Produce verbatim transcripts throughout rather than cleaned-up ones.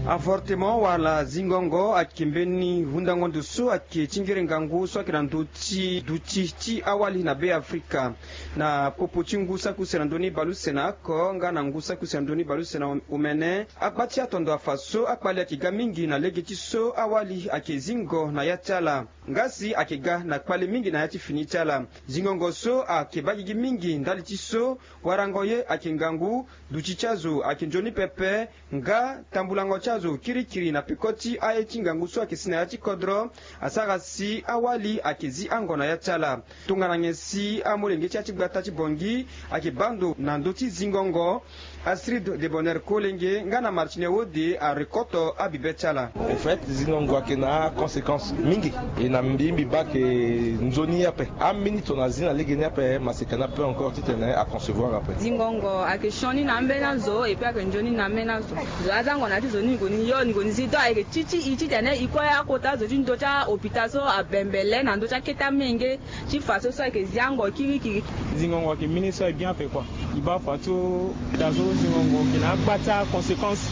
Avortement wala zingongo ayeke mbeni hundango ndo so ayeke ti ngere ngangu so ayeke na ndö ti duti ti awali na Be Afrika. Na popo ti ngu saki use na ndö ni baleuse na oko nga na ngu saki use na ndö ni baleuse na omene, akpa ti atondo afa so akpale ayeke ga mingi na lege ti so awali ayeke zingo na ya ti ala. Nga si ayeke ga na kpale mingi na ya ti fini ti ala. Zingongo so ayeke baa gigi mingi ndali ti so warango ye ayeke ngangu, duti ti azo ayeke nzoni pepe, nga tambulango ti azo kirikiri na peko ti aye ti ngangu so ayeke si na ya ti kodro asara si awali ayeke zi ango na ya ti ala. Tongana nyen si amolenge ti ya ti gbata ti Bangui ayeke baa ndo na ndö ti zingongo, Astrid de Bonheur Kolenge nga na Martine Wode arekoto abibe ti ala. En fait, zingongo ayeke na aconséquence mingi. E na mbi mbi baa ayeke nzoni ape. Aminiti tongana azi na lege ni ape, maseka ni ape encore titene aconcevoir ape. Zingongo ayeke sioni na ambeni azo, et puis ayeke nzoni na ambeni azo. Zo aza ngo na ya ti zo ni, ni gue ni yo, ni gue ni zi. Donc ayeke ti ti e titene e kue akota zo ti ndö ti ahôpital so abembele na ndö ti akete amenge ti faso so ayeke zi ango kirikiri. Zingongo ayeke mbeni so aye bien ape kua. E baa fadeso da so zingongo ayeke na agba ti aconséquence.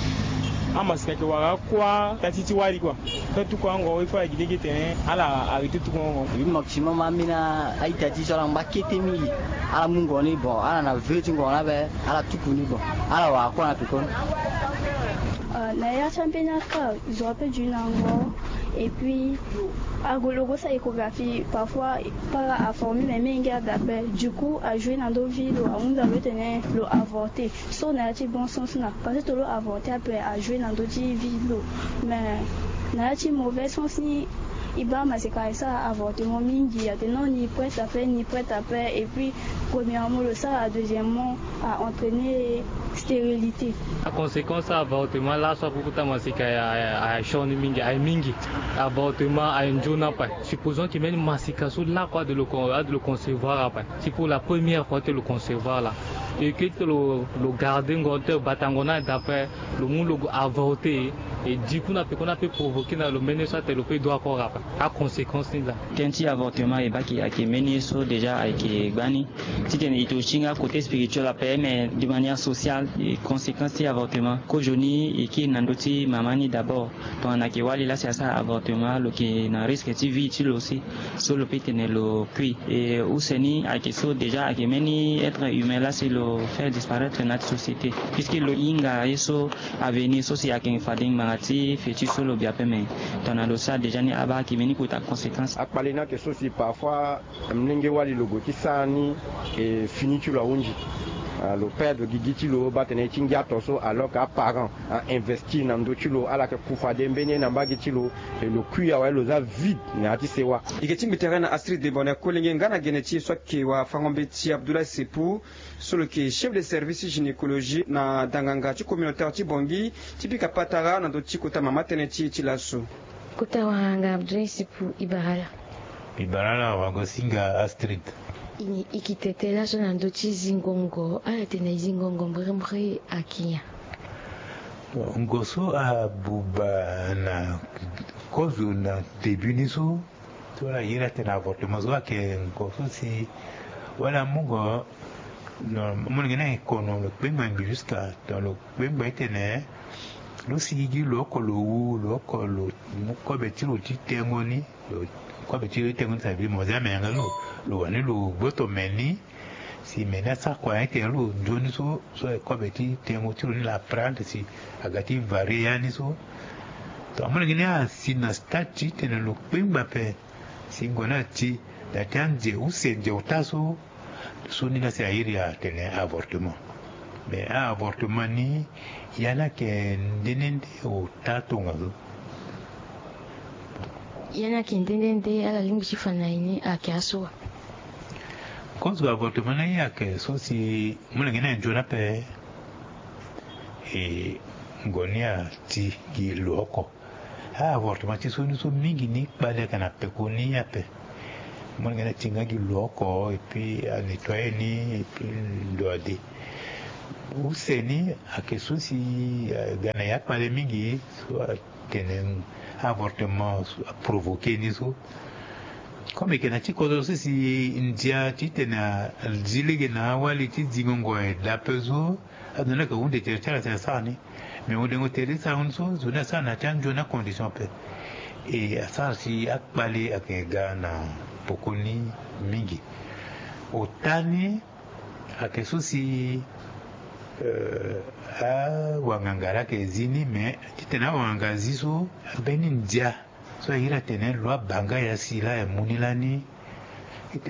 Amaseka ayeke wara akua taa ti ti wali kua. Pe tuku ango il faut ayeke lege tene ala arrêter tuku ango. Wi, maximum ambeni a-ita ti so ala ngba kete mingi. Ala mu ngo ni bon, ala na veu ti ngo ni ape, ala tuku ni bon, ala wara akua na peko ni. Euh, na ya ti ambeni aka zo ape du na ngo. Et puis ague lo go sara échographie, parfois para aforme me menge ada ape. Du coup ajoue na ndö vie lo, ahunda lo tene lo avorter. So na ya ti bon sens na, parce que tongana lo avorter ape ajoue na ndö ti vie lo. Mais na ya ti mauvais sens ni, e baa maseka asara avortement mingi, atene non ni prête ape, ni prête ape. Et puis premièrement lo sara, deuxièmement a entraîner stérilité. Aconséquence ti avortement laso ape kota maseka aye, aye, aye sioni mingi, aye mingi. Avortement aye nzoni ape. Supposons que mbeni maseka so lakue ade lo con-, ade lo concevoir ape. C'est pour la première fois ti lo concevoir laa. Et que ti lo, lo garder ngo ti lo bata ngo ni ada ape, lo mu lo avorter. Et du coup na peko ni ape provoquer na lo mbeni so atene lo pe dua kora ape. Aconséquence ni laa. Tënë ti avortement e baa ayeke mbeni ye so déjà ayeke gbani. Titene e to ti nga côté spirituel ape, mais de manière sociale, e conséquence ti avortement. Kozoni e kiri na ndö ti mama ni d'abord. Tongana ayeke wali laa si asara avortement, lo yeke na risque ti vie ti lo si. So lo pe tene lo kui. E use ni ayeke so déjà ayeke mbeni être humain laa si lo faire disparaître na ya ti société. Puisque lo hinga ye so avenir so si ayeke fade ngbanga ti futur so lo bi ape, mais tongana lo sara déjà ni abaa ayeke mbeni kota conséquence. Akpale ni ayeke so si parfois Molenge wali lo gue ti sara ni, e fini ti lo ahunzi. Ah, lo perdre gigi ti lo baa tene ti ngia to so, alors que aparent a-investir na ndö ti lo, ala yeke ku fade mbeni ye na mbage ti lo, e lo kui awe, lo za vide na ya ti sewa. E yeke tingbi tere na Astrid de Bonheur Kolenge nga na gene ti e so ayeke wafango-mbeti Abdoulaye Sepu, so lo yeke chef de service gynécologie na danganga ti communautaire ti Bangui, ti pika patara na ndö ti kota mama tënë ti e ti laso. Kota wanganga Abdoulaye Sepu, e bara ala. E bara ala wagosinga Astrid. E, e yeke tene laso na ndö ti zingongo, ala tene zingongo mbrimbri ayeke nyen? Ngo so abuba na kozo na début ni so, so ala iri atene avortement so ayeke ngo so si wala amu ngo, non, amolenge ni ayeke kono, lo kpengba ngbi jusqu'à temps lo kpengba ti tene lo sigi gi lo oko lo wu, lo oko lo mu kobe ti lo ti tengo ni. Lo kobe ti lo ti tengo ni, ça veut dire mo zia me yanga lo, lo wani lo gboto me ni. Si me ni asara kua ni tene lo nzoni so, so kobe ti tengo ti lo ni la prendre si aga ti varier ya ni so. Donc amolenge ni asi na stade ti tene lo kpengba ape. Si ngo ni ati na ya ti anze use nze ota so, so ni laa si airi atene avortement. Mais a-avortement ni, ya ni ayeke nde nde nde ota tongaso. Ya ni ayeke nde nde nde, ala lingbi ti fa na e ni ayeke aso wa? Kozo avortement ni ayeke so si molenge ni aye nzoni ape. E ngo ni ati gi lo oko. A-avortement ti so ni so mingi ni kpale ayeke na peko ni ape. Molenge ni ati nga gi lo oko, et puis anettoyer ni, et puis ndo ade. Use ni ayeke so si, eh, ga na ya kpale mingi so atene avortement so aprovoquer ni so. Comme eke na ti kodro so si ndia ti tene azi lege na awali ti zingo ngo aye daa ape so, azo ni ayeke hunde tere ti ala si asara ni. Mais hundengo tere ti sarango ni so, zo ni asara na ya ti anzoni acondition ape. E asara si akpale ayeke ga na poko ni mingi. Ota ni ayeke so si, euh, awanganga laa ayeke zi ni, mais titene awanganga azi so, mbeni ndia so aye iri atene lo abaa nga ya si laa aye mu ni lani,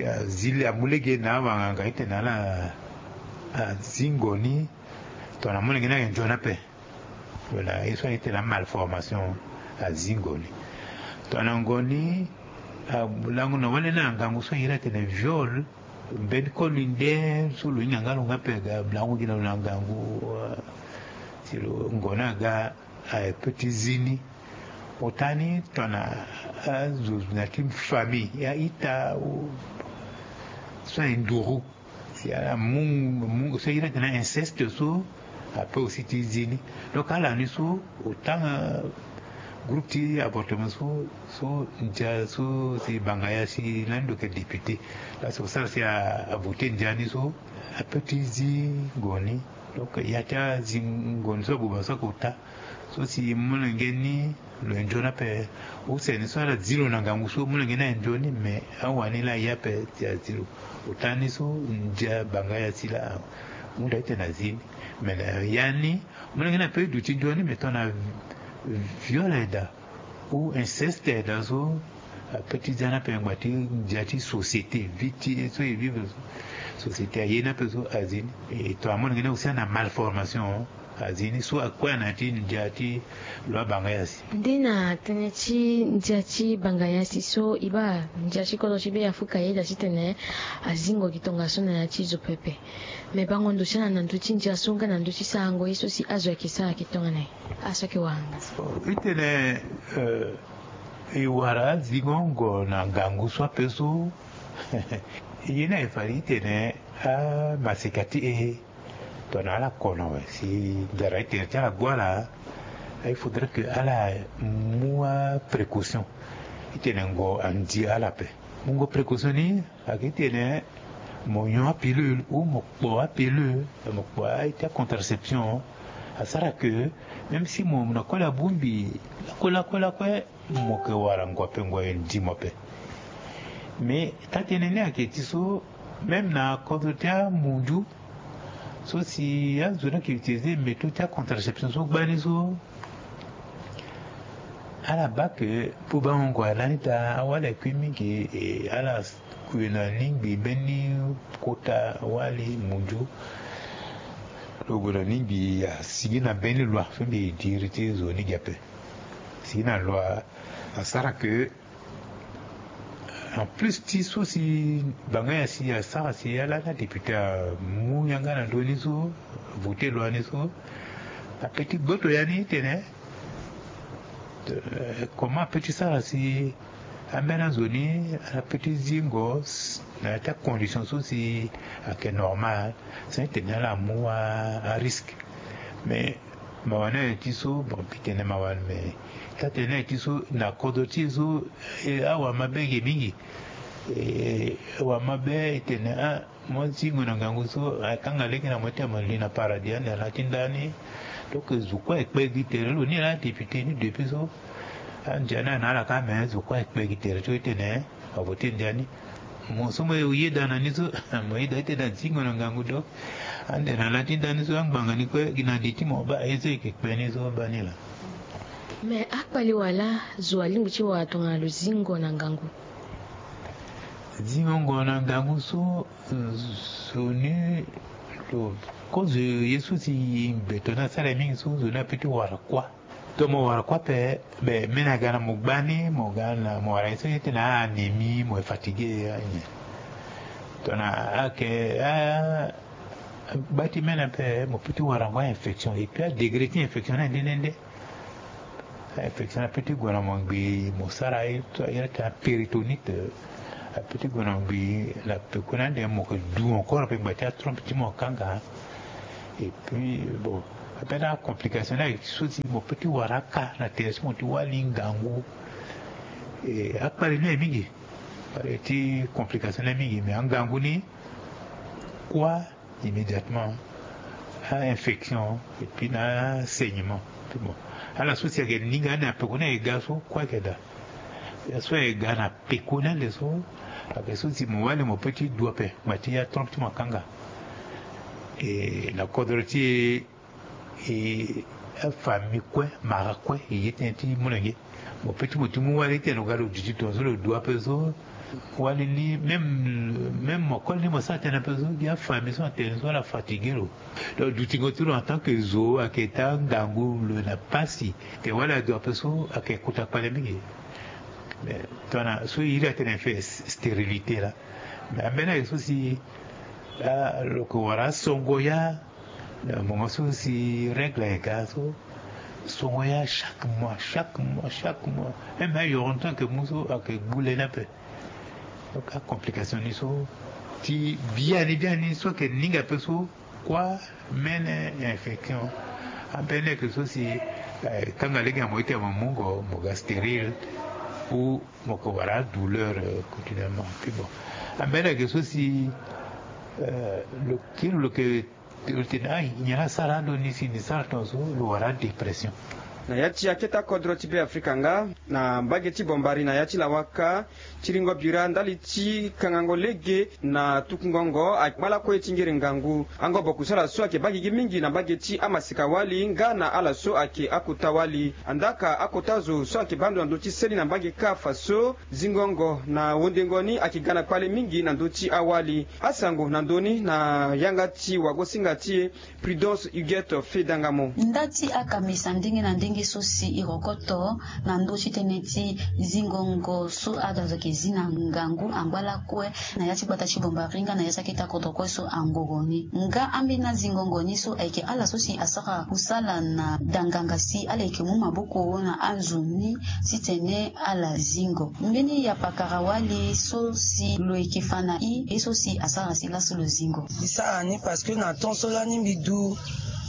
azi, amu lege na awanganga titene ala azingo ni. Tongana molenge ni ayeke nzoni ape. Voilà, ye so aye tene amalformation azingo ni. Tongana ngo ni, ah, lango na wale na ngangu so aye iri atene viol, mbeni koli nde so lo hinga nga lo nga ape aga lango gi na lo na ngangu, ah, si lo ngo ni aga, ah, aye peut ti zi ni. Ota ni tongana azo na ti famille, aita, ou so aye nduru. Si ala mu, mu, so iri atene inceste so, ape aussi ti zi ni. Donc ala ni so, autant, euh, groupe ti avortement so, so ndia so si banga ya si lani lo yeke député. Parce que osara si a, avoté ndia ni so, ape ti zi ngo ni. Donc ya ti azi ngo ni so abuba so ayeke ota. So si molenge ni lo yeke nzoni ape, use ni so ala zi lo na ngangu so, molenge ni aye nzoni, mais awani laa aye ape si azi lo. Ota ni so ndia banga ya si laa ahunda titene azi ni. Mais na ya ni, molenge ni ape duti nzoni, mais tongana viol aye daa ou inceste aye daa so, ape ti za ni ape ngbanga ti ndia ti société, vie ti so e vivre so, société aye ni ape so azi ni. E tongana molenge ni aussi ana malformation, azi ni so akue na ya ti ndia ti lo abaa nga ya si. Nde na tënë ti ndia ti banga ya si so, e baa ndia ti kodro ti Beafrika ayeda titene azingo gi tongaso na ya ti zo pepe. Me bango ndo ti ala na ndö ti ndia so nga na ndö ti sarango ye so si azo ayeke sara ayeke tongana ye, azo ayeke wara nga. Itene, euh, e wara azingo ngo na ngangu so ape so. Ye ni aye fade itene amaseka ti e, tongana ala kono awe, si ndara ti tene ti ala gue ala, il faudrait que ala mu aprécaution. Itene ngo andi ala ape. Mu ngo précaution ni, ayeke titene mo nyon apilule ou mo kpo apilule, mo kpo aye ti acontraception. Asara que même si mo na kue la bongbi lakue lakue lakue, mo yeke wara ngo ape, ngo aye ndi mo ape. Mais taa-tënë ni ayeke ti so, même na kodro ti amunzu so si azo ni ayeke utiliser méthode ti acontraception so gbani so, ala baa que bubango ngo aye lani daa, awali aye kui mingi, e ala kue na lingbi mbeni kota wali munzu. Lo gue na lingbi asigi na mbeni loi so mbi diri ti zo ni gi ape. Asigi na loi, asara que en plus ti so si banga ya si asara si ala na député amu yanga na ndö ni so, voté loi ni so, ape ti gboto ya ni tene, euh, comment ape ti sara si ambeni azo ni ape ti zi ngo na ya ti acondition so si ayeke normal, sans tene ala mu arisque. Mais mawa ni aye ti so, bon, mbi tene mawa ni, mais taa-tënë ni aye ti so na kodro ti e so, e, awamabe ge mingi. E, awamabe e tene, ah, mo zingo na ngangu so, akanga lege na mo ti tene mo li na paradis ande na ti ndani. Donc zo kue aye kpe gi tere, lo ni ala député ni depuis so. Andia ni ana ala kâ, mais zo kue aye kpe gi tere ti e tene avoté ndia ni. Mo so mo yeda na ni so, mo yeda ti tene azingo na ngangu, donc ande na la ti ndani so angbanga ni kue gi na li ti mo baa, ye so e yeke kpe ni so baa ni laa. Mais akpale wala zo alingbi ti wara tongana lo zingo na ngangu? Zingo ngo na ngangu so, zo ni lo kozo ye so si mbeto ni asara ye mingi so, zo ni ape ti wara kuâ. Donc mo wara kuâ ape, be mbeni aga na mo gbani, mo ga na mo wara ye so ye tene anémie, mo fatigué, ayen. Tongana ayeke a, agba ti mbeni ape, mo peut ti wara ngo a-infection. Et puis adegré ti infection ni aye nde nde nde. A-infection ni ape ti gue na mo ngbii, mo sara ye so aye tene apéritonite. Ape ti gue na mo ngbii, na peko ni ande mo yeke du encore ape, ngba ti atrompe ti mo akanga. Et puis bon, ape na complication ni aye so si mo peut ti wara aka na tere so mo ti wali ngangu. E akpale ni aye mingi. Ti complication ni mingi, mais angangu ni, kua immédiatement, a infection et puis na saignement. Bon, ala so si ayeke ninga ni na peko ni ayeke ga so kua ayeke daa. Ya so ayeke ga na peko ni ande so, ayeke so si mo wali mo pe ti du ape ngba ti ya trompe ti mo akanga. E na kodro ti e, e, afamille kue, mara kue e ye tënë ti molenge. Mo pe ti mo ti mu wali ti tene lo ga lo duti tongaso lo du ape so. Wali ni même, même mo koli ni mo sara tënë ape so gi afamille so atene so ala fatigue lo. Donc dutingo ti lo en tant que zo ayeke taa ngangu lo na pasi. Te wali adu ape so ayeke kota kpale mingi. Mais tongana so iri atene fait stérilité laa. Mais ambeni ayeke so si, ah, lo yeke wara asongo ya. Mo ma so si règle ayeke ga so, songo ya chaque mois, chaque mois, chaque mois. Même ayoro ni so ayeke mu so ayeke gbu lani ape. Donc acomplication ni so ti biani biani so ayeke ninga ape so, kua mene infection. Ambeni ayeke so si, eh, kanga lege na mo ete mo mungo mo ga stérile ou mo yeke wara adouleur, euh, continuellement. Puis bon, ambeni ayeke so si, euh, lo kiri lo yeke Tene, ah, nyen asara ando ni si ni sara tongaso, lo wara dépression. Na ya ti akete akodro ti Beafrika nga, na mbage ti Bombari na ya ti Lawaka, tiringo bira ndali ti kangango lege na tukungongo angba lakue ti ngiri ngangu. Angobo kusala so ayeke baa gigi mingi na mbage ti amaseka-wali nga na ala so ayeke akota wali. Andaka akota zo so ayeke baa ndo na ndö ti seni na mbage kâ fa so zingongo na wendengo ni ayeke ga na kpale mingi na ndö ti awali. Asango na ndö ni na yanga ti wagosinga ti e, Prudence Huguette Fedangamo. Nda ti akambisa ndenge na ndenge so si e rokoto na ndö ti tënë ti zingongo so ado azo ayeke zi na ngangu angba lakue na ya ti gbata ti Bombari nga na ya ti akete akodro kue so angoro ni. Nga ambeni azingongo ni so ayeke ala so si asara kusala na danganga si ala yeke mu maboko na azo ni titene ala zingo. Mbeni ya pakara-wali so si lo yeke fa na e, ye so si asara si laso lo zingo. Mbi sara ni parce que na temps so lani mbi du,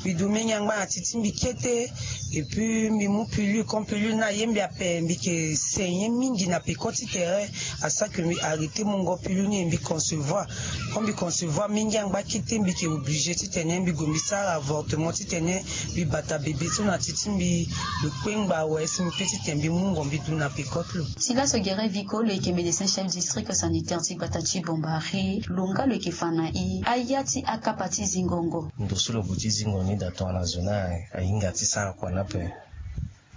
mbi du mingi angba na ti ti mbi kete. Et puis mbi mu pilule, comme pilule ni aye mbi ape, mbi yeke saigner mingi na peko ti tere. Asara que mbi arrêter mungo pilule ni et mbi concevoir. Comme mbi concevoir mingi angba kete, mbi yeke obligé titene mbi gue mbi sara avortement titene mbi bata bébé so na ti ti mbi, lo kpengba awe si mbi pe titene mbi mungo mbi du na peko ti lo. Ti laso Guérin Vico, lo yeke médecin chef district sanitaire ti gbata ti Bombari, lo nga lo yeke fa na e aya ti akapa ti zingongo. Ndo so lo gue ti zingo ni daa tongana zo ni ahinga ti sara kua ni ape.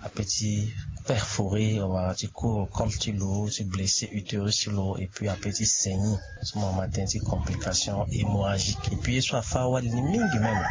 Ape ti perforer wala ti kour col ti lo, ti blesser utérus ti lo, et puis ape ti saigner. So mo ma tënë ti complication hémorragique. Et puis ye so afâ awali ni mingi même.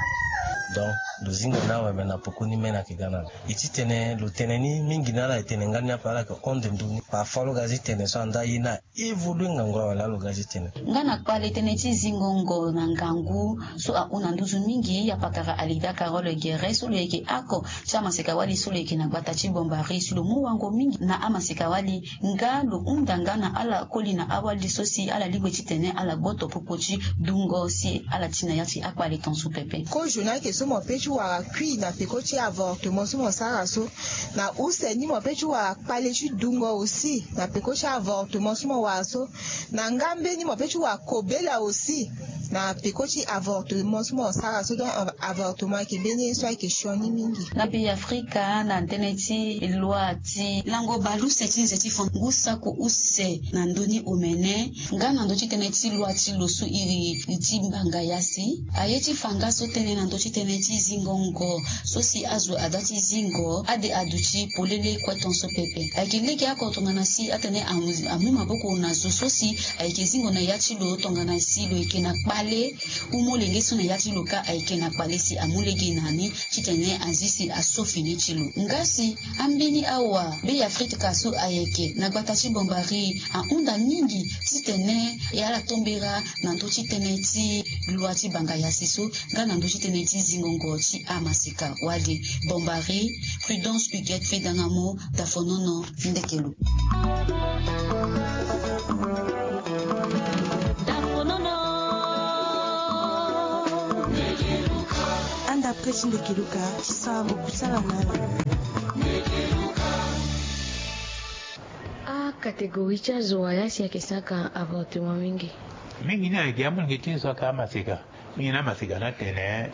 Donc lo zingo ni awe, me na peko ni mene ayeke ga na lo. E titene lo tene ni mingi na ala e tene nga ni ape, ala yeke honde ndö ni. Parfois lo ga ti tene so anda ye ni a évoluer ngangu awe laa lo ga ti tene. Nga na kpale tënë ti zingongo na ngangu so ahon na nduzu mingi, ya pakara Alida Carole Guérin so lo yeke oko ti amaseka-wali so lo yeke na gbata ti Bombari, si lo mu wango mingi na amaseka-wali nga lo hunda nga na ala koli na awali so si ala lingbi titene ala gboto popo ti dungo si ala ti na ya ti akpale tongaso pepe. Kozo ni ayeke so mo pe ti wara kui na peko ti avortement so mo sara so. Na use ni mo pe ti wara kpale ti dungo aussi na peko ti avortement so mo wara so. Na nga mbeni mo pe ti wara kobela aussi na peko ti avortement so mo sara so. Donc avortement ayeke mbeni ye so ayeke sioni mingi. Na pays Afrika, na tënë ti loi ti lango bale use ti nze ti fon ngu sako use na ndö ni omene, nga na ndö ti tënë ti loi ti lo so iri ti mbanga ya si aye ti fa nga so tënë na ndö ti tënë ti zingongo so si azo ada ti zingo ade aduti polele kue tongaso pepe. Ayeke lege oko tongana si atene amu, amu maboko na zo so si ayeke zingo na ya ti lo tongana si lo yeke na kpale ou molenge so na ya ti lo kâ ayeke na kpale si amu lege na ni titene azi si aso fini ti lo. Nga si ambeni awa Beafrika so ayeke na gbata ti Bombari ahunda mingi titene e ala tombera na ndö ti tënë ti loi ti banga ya si so nga na ndö ti tënë ti zingongo ti amaseka-wali. Bombari, Prudence Huguette Fedangamo, Dafonono, ndeke lo. Anda prêt ti ndeke luka ti sara mo kusala na ala. Acatégorie ti azo wala si ayeke saka avortement mingi? Mingi ni ayeke amolenge ti e so aka amaseka. Mingi ni amaseka ni atene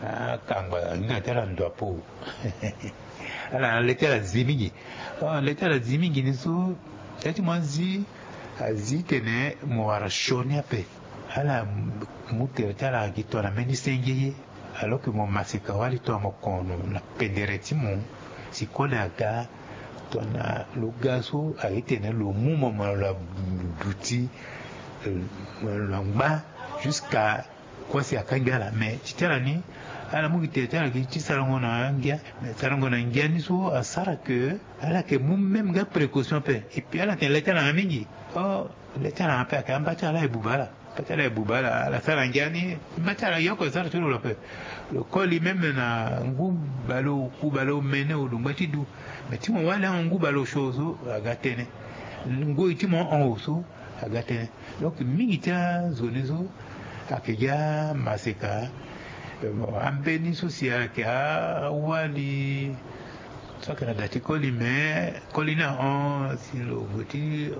akangba hinga ti ala ndo apo. Ala na le ti ala zi mingi. Le ti ala zi mingi ni so, ya ti mo azi, azi tene mo wara sioni ape. Ala mu tere ti ala gi tongana mbeni senge ye. Alors que mo maseka wali tongana mo kono na pendere ti mo, si koli aga tongana lo ga so aye tene lo mu mo mo na lo abuti, mo na lo angba jusqu'à kue si akangbi ala. Mais ti ti ala ni, ala mu gi tere ti ala gi ti sarango na ngia. Mais sarango na ngia ni so asara que ala yeke mu même nga précaution ape. Et puis ala tene le ti ala na mingi. Oh, le ti ala na ape ayeke amba ti ala e buba ala. Amba ti ala e buba ala, ala sara ngia ni. Amba ti ala yoko e sara ti lo lo ape. Lo koli même na ngu baleoku baleomene o lo ngba ti du. Mais ti mo wali ango ngu baleosio so aga tënë. Ngoi ti mo ahon so aga tënë. Donc mingi ti azo ni so ayeke gi amaseka. Ambeni so si ayeke awali so ayeke na da ti koli, mais koli ni ahon si lo gue ti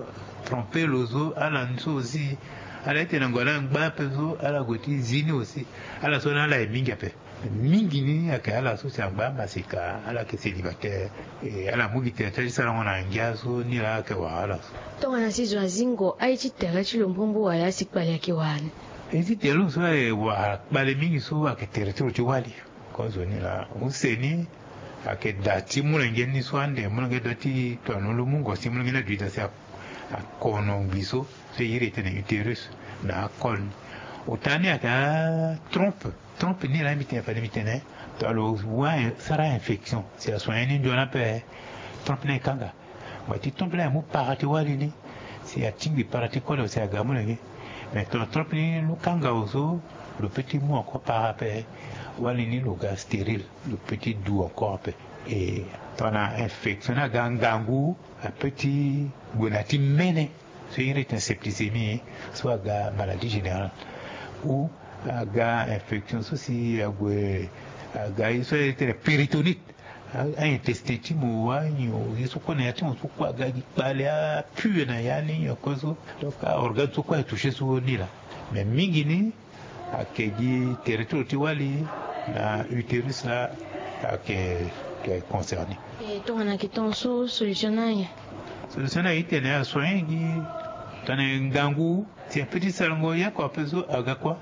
tromper lo so, ala ni so aussi. Ala ye tene na gue na ngba ape so ala gue ti zi ni aussi. Ala so ni ala ye mingi ape. Mingi ni ayeke ala so si angba amaseka, ala yeke célibataire. E ala mu gi tere ti ala ti sarango na ngia so ni laa ayeke wara ala so. Tongana si zo azingo, aye ti tere ti lo mbumbu wala si kpale ayeke wara ni? Aye ti tere lo so aye wara kpale mingi so ayeke tere ti lo ti wali. Kozo ni laa use ni ayeke da ti molenge ni so ande molenge doit ti tongana lo mu ngo si molenge ni aduti da si akono ngbi so, so e iri e tene utérus na akol ni. Ota ni ayeke atrompe. Trompe ni laa mbi tene fade mbi tene, tongana lo wara sara infection si asoigné ni nzoni ape, trompe ni e kanga. Mo ti trompe ni amu para ti wali ni si atingbi para ti koli awe si aga molenge. Mais tongana trompe ni lo kanga awe so, lo peut ti mu encore para ape. Wali ni lo ga stérile, lo peut ti du encore ape. E tongana infection ni aga ngangu, a peut ti gue na ya ti mene so e iri tene septicémie, so aga maladie générale, ou aga infection so si ague aga ye so e iri tene péritonite. Aintestin ti mo wa nyo ye so kue na ya ti mo so kue aga gi kpale, apue na ya ni nyo kue so. Donc aorgane so kue atouché so ni laa. Mais mingi ni ayeke gi tere ti lo ti wali na utérus laa ayeke concerné. E tongana ayeke ton so solution ni aye? Solution ni aye ti tene asoigné gi tongana ngangu si apeut ti sarango ye oko ape so aga kua.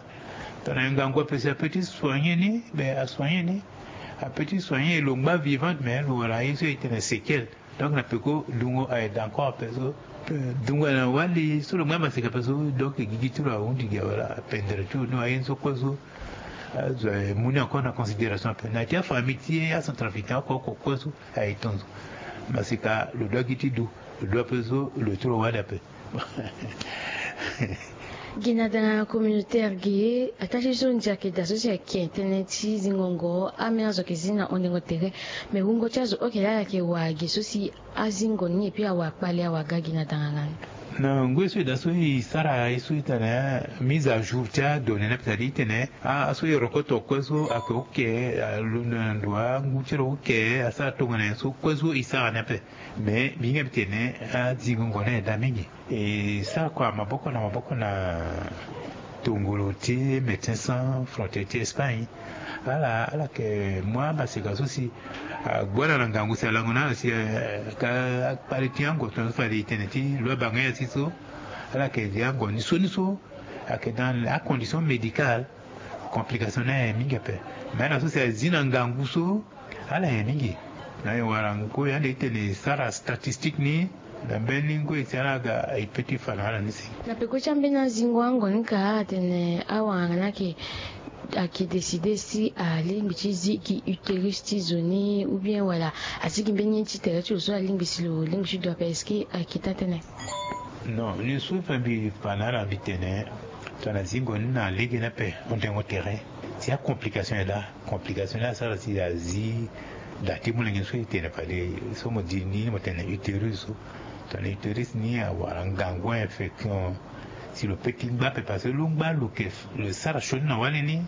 Tongana ngangu ape si apeut ti soigné ni, mais asoigné ni. Apeut ti soigné lo ngba vivante, mais lo wara ye so e tene séquelle. Donc na peko dungo aye da encore ape so. Dungo aye na wali so lo ngba maseka ape so, donc gigi ti lo ahunzi gi awe laa, apendere ti lo ni aye ni so kue so. Azo aye mu ni encore na considération ape na ya ti afamille ti acentrafricain oko oko kue so. Aye tonzo maseka lo doit gi ti du, lo doit ape so lo ti lo wali ape. Gi na danga communautaire gi ataa ti so ndia ayeke daa so si ayeke tënë ti zingo ngo, ambeni azo ayeke zi na hundengo tere. Me wungo ti azo oke laa ala yeke wara gi so si azingo ni epui awara kpale awara ga gi na danga nga ni. Na ngoi so e daa so e sara ye so e tene mise à jour ti adonnée ni ape, c'est-à-dire e tene aso e rokoto kue so ayeke oke, alondo na ndo angu ti lo oke, asara tongana nyen so kue so e sara ni ape. Mais mbi hinga mbi tene azingongo ni aye daa mingi. E sara kua maboko na maboko na tongolo ti Médecins Sans Frontières ti Espagne. Ala ala yeke mu amaseka so si agbu ala na ngangu si alango na ala si akpale ti ango tongana so fade e tene ti lo abanga nyen si so. Ala yeke zi ango ni so ni so ayeke dans acondition médicale. Complication ni aye mingi ape. Mais ala so si azi na ngangu so ala ye mingi. Na e wara ngoi ande e tene e sara statistique ni na mbeni ngoi si ala aga e peut ti fa na ala ni si. Na peko ti ambeni azingo ango ni ka atene awanganga ni ayeke ayeke décidé si alingbi ti zi gi utérus ti zo ni ou bien wala azi gi mbeni ye ti tere ti lo so alingbi si lo lingbi ti du ape, est-ce que ayeke taa tënë? Non, ni so fa mbi fa na ala mbi tene tongana zingo ni na lege ni ape hundengo tere si acomplication e daa. Complication ni asara si azi da ti molenge so e tene fade so mo di ni mo tene utérus so. Tongana utérus ni awara ngangu infection si lo peut ti ngba ape parce que lo ngba lo yeke lo sara sioni na wali ni.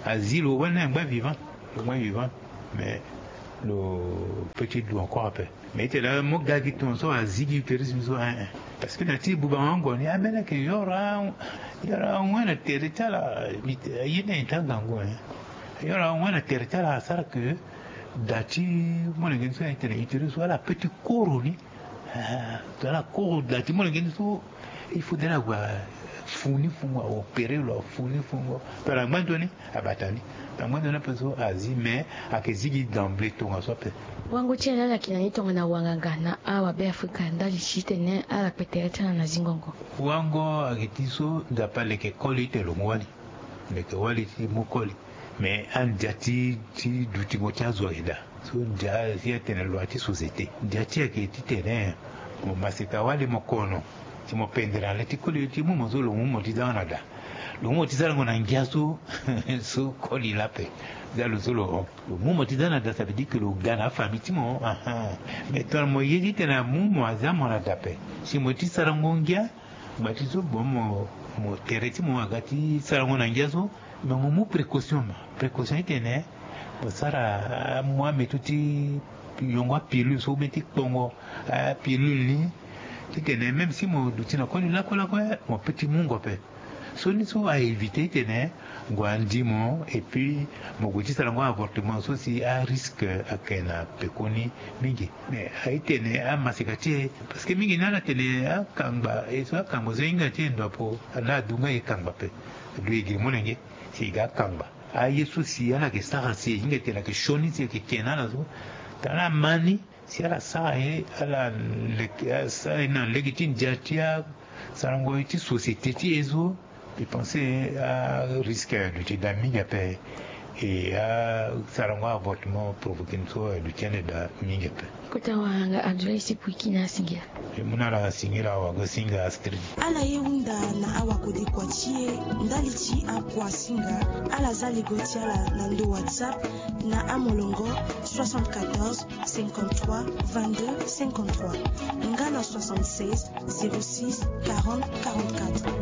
Azi lo wali ni angba vivant, lo ngba vivant. Mais lo Pe ti du encore ape. Mais ite laa mo ga gi tongaso azi gi uterus ni so, hein, hein. Parce que na ti bubango ango ni ambeni ayeke yoro, yoro awe na tere ti ala. Aye ni aye ti angangu, hein. Yoro awe na tere ti ala asara ke da ti molenge ni so ayeke tene uterus so ala pe ti koro ni. Ah, ala koro da ti molenge ni so. Il faudrait ague afu ni fungo, aopere lo afu ni fungo. Pe ala ngba nzoni abata ni. Pe ala ngba nzoni ape so azi, mais ayeke zi gi d'emblée tongaso ape. Wango ti ala ala yeke na ni tongana wanganga na awabe afrika ndali ti tene ala kpe tere ti ala na zingongo. Wango ayeke ti so Nzapa aleke koli ti tene lo mu wali. Leke wali ti mu koli. Mais andia ti, ti dutingo ti azo ayeke daa. So ndia si atene loi ti société, ndia ti ayeke titene mo maseka wali mo kono, si mo pendere na le ti koli ti mu mo so lo mu mo ti za na da. Lo mu mo ti sarango na ngia so. So koli laa ape. Za lo so lo, lo mu mo ti za na da, ça veut dire que lo ga na afamille ti mo, ahan. Mais tongana mo ye titene amu mo aza mo na da ape, si mo ye ti sarango ngia, ngba ti so bon mo, mo tere ti mo aga ti sarango na ngia so. Mais mo mu précaution, ma précaution ti tene mo sara, ah, mo ametu ti yongo apilule so ou bien ti kpongo, ah, apilule ni, ti tene même si mo duti na koli lakue lakue, mo pe ti mungo ape. So ni so a éviter ti tene ngu andi mo, et puis mo gue ti sarango avortement so si arisque ayeke na pekoni mingi. Mais aye ti tene amaseka ti e, parce que mingi ni ala tene akangba e so, akangba so e hinga ti e ndo apo, ala adu nga e kangba ape. Adu e giri molenge si e ga akangba. Aye so si ala yeke sara si e hinga tene ayeke sioni si e yeke ke na ala so, tara ala ma ni si ala sara ye, ala leke, ala sara ye na lege ti ndia ti asarango ye ti société ti e so. Mbi pense arisque aduti daa mingi ape. E asarango avortement provoqué ni so aduti ande daa mingi ape. Kota wanganga Abdoulaye Sepuiki na asingila. E mu na ala singila awagosinga Astrid. Ala ye hunda na awakode kua ti e ndali ti akua singa. Ala za lego ti ala na ndo WhatsApp na amolongo soixante-quatorze cinquante-trois vingt-deux cinquante-trois nga na soixante-seize zéro six quarante quarante-quatre.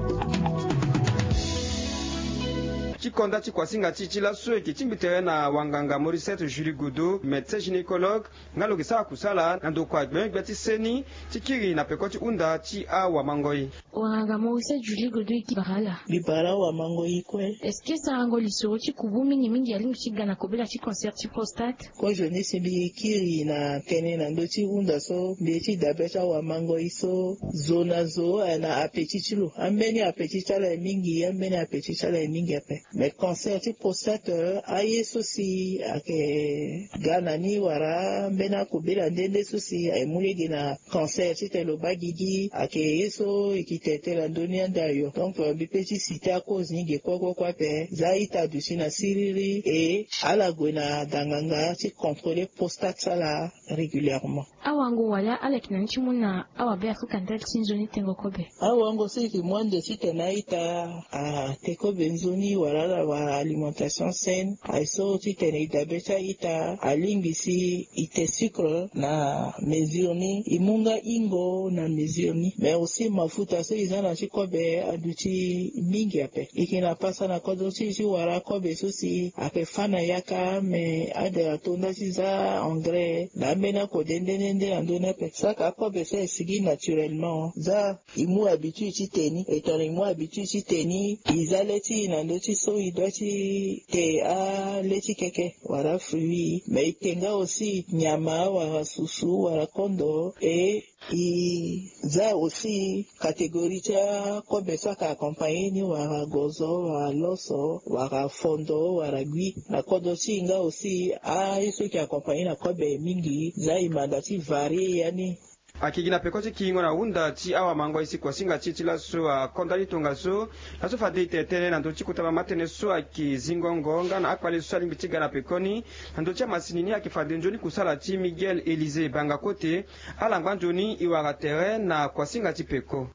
Ti konda ti kuasinga ti e ti laso e yeke tingbi tere na wanganga Morisset Julie Godeau, médecin gynécologue, nga lo yeke sara kusala na ndokua gbengbe ti seni ti kiri na peko ti hunda ti awamangoi. Wanganga Morisset Julie Godeau, e bara ala. Mbi bara awamangoi kue. Est-ce que sarango lisoro ti kubu mingi mingi alingbi ti ga na kobela ti cancer ti prostate? Kozo ni si mbi kiri na tënë na ndö ti hunda so, mbi ye ti dabe ti awamangoi so, zo na zo ayeke na apeti ti lo. Ambeni apeti ti ala aye mingi, ambeni apeti ti ala aye mingi ape. Mais cancer ti prostate, aye so si ayeke ga na ni wala ambeni akobela nde nde so si aye mu lege na cancer titene lo baa gigi, ayeke ye so e yeke tene tënë na ndö ni ande ayo. Donc, euh, mbi pe ti citer acause ni ge kue kue kue ape. Za a-ita aduti na siriri, e ala gue na danganga ti contrôler prostate ti ala régulièrement. Awango wala ala yeke na ni ti mu na awabe afrika ndali ti nzoni tengo kobe? Awango so e yeke mu ande titene a-ita ate kobe nzoni wala ala wara alimentation saine, aye so titene e dabe ti a-ita alingbi si e te sucre na mesure ni, e mu nga hingo na mesure ni. Mais aussi mafuta so e za na ti kobe aduti mingi ape. E yeke na pasa na kodro ti e ti wara kobe so si ayeke fâ na yaka, mais adere ato nda ti za engrais na ambeni akode nde nde nde na ndö ni ape. Saka akobe so aye sigi naturellement. Za e mu habitude ti te ni. E tongana e mu habitude ti te ni, e za le ti e na ndö ti so e doit ti te ale ti keke wala fruit. Mais e te nga aussi nyama wala susu wala kondo. E e za aussi catégorie ti akobe so ayeke accompagné ni wala gozo wala loso wala fondo wala gui. Na kodro ti e nga aussi aye so e yeke accompagné na kobe mingi, za e manda ti varié ya ni. Ayeke gi na peko ti kiringo na hunda ti awamangoi si kuasinga ti e ti laso akonda ni tongaso. Laso fade e tene tënë na ndö ti kota mama tënë so ayeke zingongo nga na akpale so alingbi ti ga na pekoni. Na ndö ti amasini ni ayeke fade nzoni kusala ti Miguel Élisée Banga Kote. Ala ngba nzoni e wara tere na kuasinga ti peko.